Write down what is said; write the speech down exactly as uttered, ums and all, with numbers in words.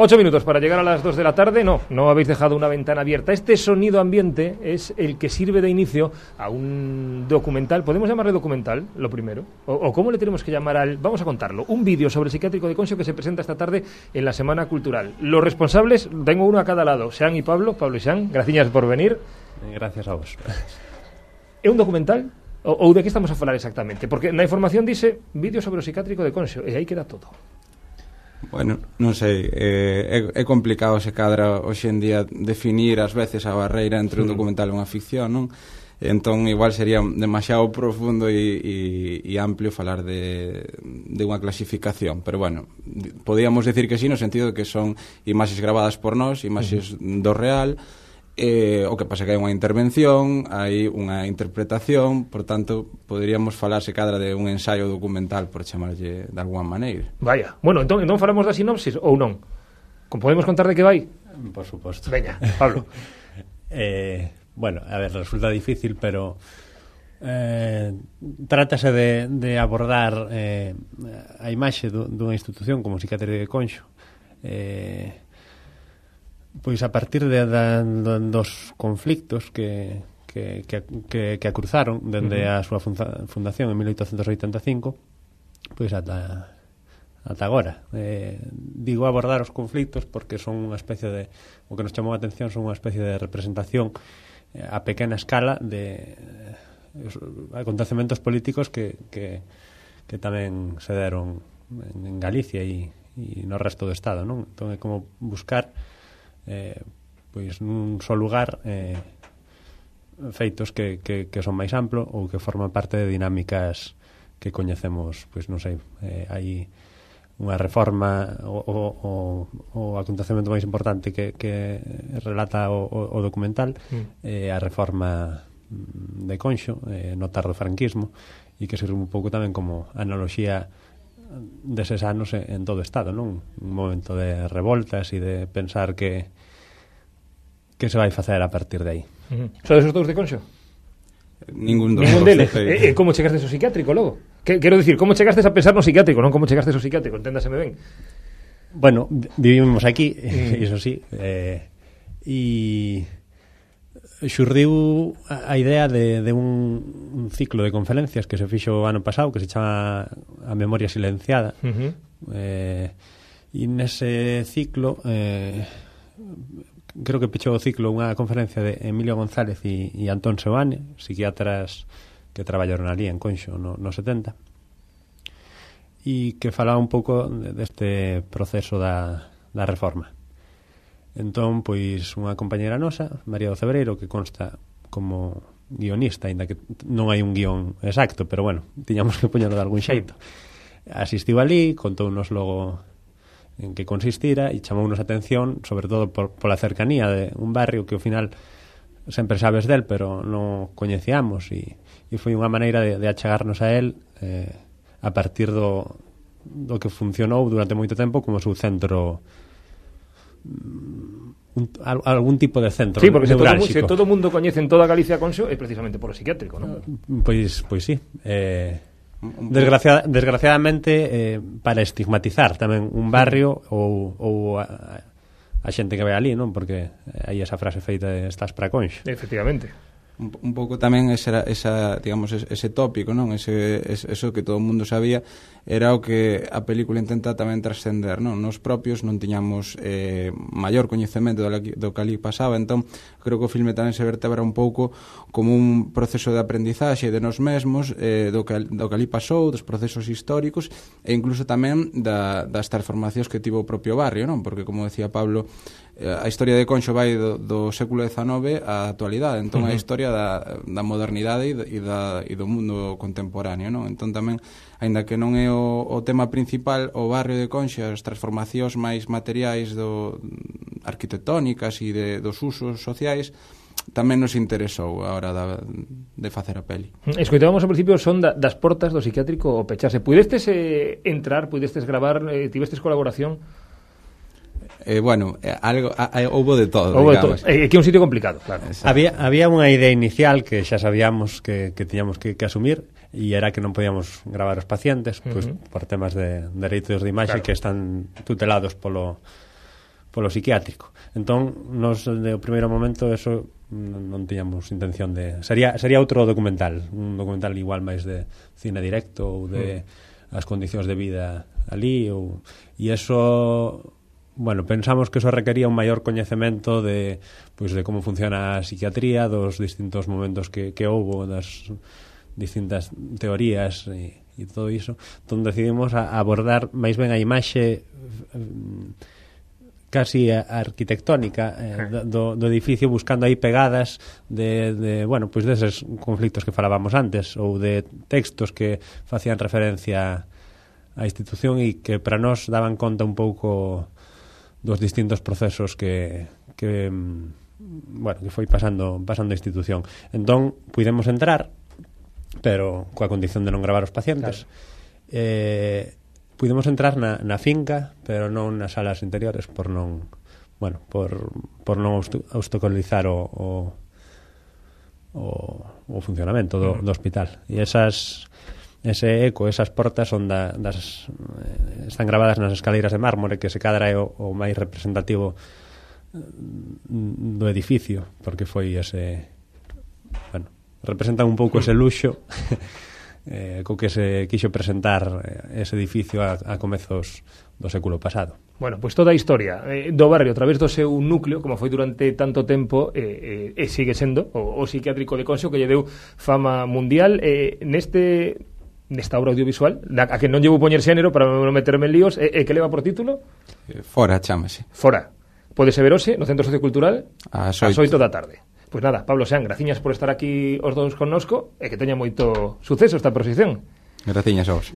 Ocho minutos para llegar a las dos de la tarde. No, no habéis dejado una ventana abierta. Este sonido ambiente es el que sirve de inicio a un documental. ¿Podemos llamarle documental, lo primero? ¿O, o cómo le tenemos que llamar al...? Vamos a contarlo. Un vídeo sobre el psiquiátrico de Conxo que se presenta esta tarde en la Semana Cultural. Los responsables, tengo uno a cada lado, Xan y Pablo. Pablo y Xan, gracias por venir. Gracias a vos. É un documental? Ou, ou de que estamos a falar exactamente? Porque na información dice vídeo sobre o psiquiátrico de Conxo, e aí queda todo. Bueno, non sei, é, é complicado se cadra hoxe en día definir ás veces a barreira entre un documental e unha ficción, non? Entón igual sería demasiado profundo e, e, e amplio falar de, de unha clasificación, pero bueno, podíamos decir que sí, no sentido de que son imaxes grabadas por nós, imaxes uh-huh. do real. Eh, o que pasa que hai unha intervención, hai unha interpretación, por tanto, poderíamos falar se cadra de un ensaio documental, por chamarlle de alguma maneira. Vaya, bueno, entón, entón falamos da sinopsis ou non? Podemos contar de que vai? Por suposto. Veña, Pablo. eh, bueno, a ver, resulta difícil, pero eh, trátase de, de abordar eh, a imaxe do, dunha institución como o Psiquiátrico de Conxo, eh, pois a partir de, de, de dos conflictos que, que, que, que, que a cruzaron dende uh-huh. a súa funda, fundación en mil oitocentos oitenta e cinco pois ata, ata agora. Eh, digo abordar os conflictos porque son unha especie de, o que nos chamou a atención son unha especie de representación eh, a pequena escala de eh, acontecementos políticos que, que, que tamén se deron en, en Galicia e, e no resto do Estado, non? Entón é como buscar Eh, pois nun só lugar eh, feitos que, que, que son máis amplo ou que forman parte de dinámicas que coñecemos, pois non sei, eh, hai unha reforma o, o, o, o acontecemento máis importante que, que relata o, o documental mm. eh, a reforma de Conxo eh, no tardo franquismo e que sirve un pouco tamén como analoxía deses anos en todo o Estado, non? Un momento de revoltas e de pensar que que se vai facer a partir de aí. Uh-huh. Sodes os dous de Conxo? Ningún dos. Ningún deles. E, e como chegastes ao psiquiátrico logo? Que, quero dicir, como chegastes a pensar no psiquiátrico, non como chegastes ao psiquiátrico, enténdaseme ben. Bueno, vivimos aquí, mm. iso sí, eh, e xurdiu a idea de, de un, un ciclo de conferencias que se fixo o ano pasado, que se chama A Memoria Silenciada. Uh-huh. Eh, e nese ciclo... Eh, creo que pechou o ciclo unha conferencia de Emilio González e, e Antón Seoane, psiquiatras que traballaron ali en Conxo no, no setenta, e que falaba un pouco deste proceso da, da reforma. Entón, pois, unha compañera nosa, María do Cebreiro, que consta como guionista, ainda que non hai un guión exacto, pero bueno, tiñamos que poñerlo de algún xeito. Asistiu ali, contounos logo en que consistira e chamounos a atención sobre todo por, pola cercanía de un barrio que ao final sempre sabes del pero non coñecíamos e, e foi unha maneira de, de achegarnos a él eh, a partir do, do que funcionou durante moito tempo como seu centro un, algún tipo de centro. Sí, porque se todo, se todo mundo coñece en toda Galicia Conxo é precisamente por o psiquiátrico, non? Pois, pois sí, eh Desgraciada, desgraciadamente eh, para estigmatizar tamén un barrio ou, ou a, a xente que vai ali, non? Porque hai esa frase feita de estás para Conxo. Efectivamente. Un, un pouco tamén esa, esa digamos, ese tópico, non? Ese, eso que todo o mundo sabía era o que a película intenta tamén trascender, non? Nos propios non tiñamos eh, maior coñecemento do, do que ali pasaba, entón creo que o filme tamén se vertebra un pouco como un proceso de aprendizaxe de nós mesmos, eh, do, que, do que ali pasou, dos procesos históricos e incluso tamén da, das transformacións que tivo o propio barrio, non? Porque como decía Pablo, a historia de Conxo vai do, do século dezanove á actualidade, entón uh-huh. a historia da, da modernidade e, da, e do mundo contemporáneo, non? Entón tamén, aínda que non é o, o tema principal, o barrio de Conxo, as transformacións máis materiais do arquitectónicas e de, dos usos sociais tamén nos interesou a hora da, de facer a peli. Escoitábamos ao principio son da, das portas do psiquiátrico o pecharse. Pudestes eh, entrar, pudestes gravar, eh, tivestes colaboración? Eh, bueno, eh, algo a, a, houbo de todo, houbo digamos. É eh, que é un sitio complicado, claro. Había, había unha idea inicial que xa sabíamos que, que tiñamos que, que asumir e era que non podíamos gravar os pacientes, uh-huh. pois por temas de dereitos de imaxe claro. que están tutelados polo polo psiquiátrico. Entón, nos, de o primeiro momento, eso non, non tiñamos intención de... Sería, sería outro documental, un documental igual máis de cine directo ou de mm. as condicións de vida ali, ou... e eso... Bueno, pensamos que eso requería un maior coñecemento de, pois, de como funciona a psiquiatría, dos distintos momentos que, que houbo, das distintas teorías e, e todo iso. Entón decidimos a abordar máis ben a imaxe casi arquitectónica eh, do, do edificio, buscando aí pegadas de, de, bueno, pois deses conflictos que falábamos antes, ou de textos que facían referencia á institución e que para nós daban conta un pouco dos distintos procesos que, que bueno, que foi pasando pasando a institución. Entón, puidemos entrar, pero coa condición de non gravar os pacientes. Claro. Eh, puidemos entrar na, na finca, pero non nas salas interiores, por non, bueno, por, por non obstaculizar o, o, o, o funcionamento do, do hospital. E esas ese eco, esas portas son da, das, eh, están gravadas nas escaleiras de mármore, que se cadra é o, o máis representativo do edificio, porque foi ese, bueno, representan un pouco ese luxo eh, co que se quixo presentar ese edificio a, a comezos do século pasado. Bueno, pois pues toda a historia eh, do barrio a través do seu núcleo, como foi durante tanto tempo, eh, eh, e sigue sendo o, o psiquiátrico de Conxo, que lle deu fama mundial. Eh, neste nesta obra audiovisual, a que non llevo poñer xénero para non meterme en líos, e, e que leva por título? Eh, Fora, chámase. Fora. Pode ser verose no Centro Sociocultural ás oito da tarde. Pois nada, Pablo Sean, graciñas por estar aquí os dous connosco e que teña moito suceso esta proxección. Graciñas a vos.